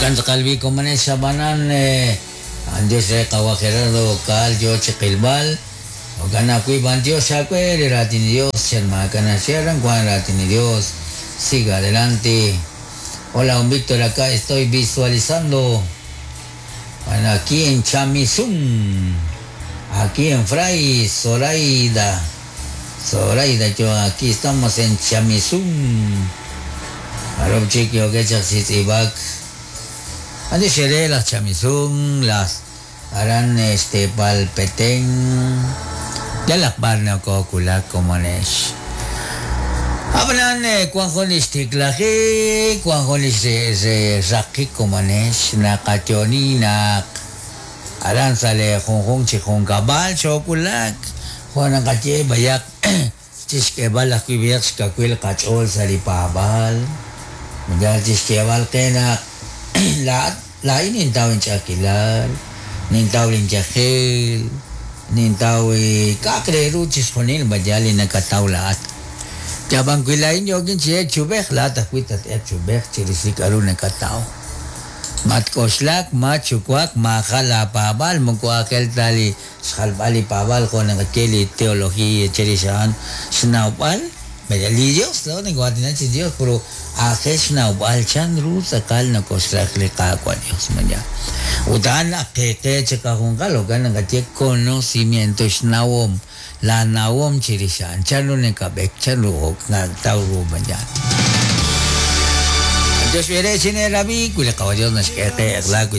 Jo'kan tz'aqal b'i komonel xab'anan B'antiox re qawa' Gerardo Caal yoo chi qilb'al. Jo'kan ajwi' b'antiox aawe li raatin li Dios chan maak'a' naxye aran wank raatin li Dios. Siga adelante. Hola, don Víctor, acá estoy visualizando. Bueno, aquí en Chamizum, aquí en Fray Zoraida. Zoraida, yo aquí estamos en Chamizum. Arob chik yookeb' chaq chi tz'iib'ak. Ani xere laj Chamizum, laj aran xteepal Petén. Yalaq b'ar nokoowulak komonex. Ab'anan wan jun li xtiklajik, wan jun li xraqik komonex naqayo'oni naq aran sa' li junjunq chi junkab'al xoowulak jo' naqaye b'ayaq chixk'eeb'al ajwi' b'ayaq xkawil qach'ool sa' li paab'aal, yal chixyeeb'al qe naq laa'at laa'in nintaw inch'a'ajkilal, nintaw linyajel, nintaw k'a'aq re ru chixjunil b'ayal li nakataw laa'at. Yab'an wi laa'in yookin chi elk chi ub'ej, laa'at ajwi' tat-elq chi ub'ej chirix li k'a'ru nakataw. Matk'oxlak, matxuwak, maajal laapaab'aal, moko aajel ta li xjalb'al li paab'aal jo' naqaye li teología chirix a'an xnawb'al li Dios, laa'o nakoo'aatinak chi Dios, pero aajel xnawb'al chan ru tz'aqal nokoxraj li Qaawa' Dios mañana. Ut a'an ak qe qe chiqajunqal, jo'kan naqaye conocimiento, xnawom, laa nawom chirix a'an, chan ru nakab'ek, chan ru nakataw ru mañana. Dios b'ere chineerab'i wi li Qaawa' Dios naxk'e qe eq'la wi.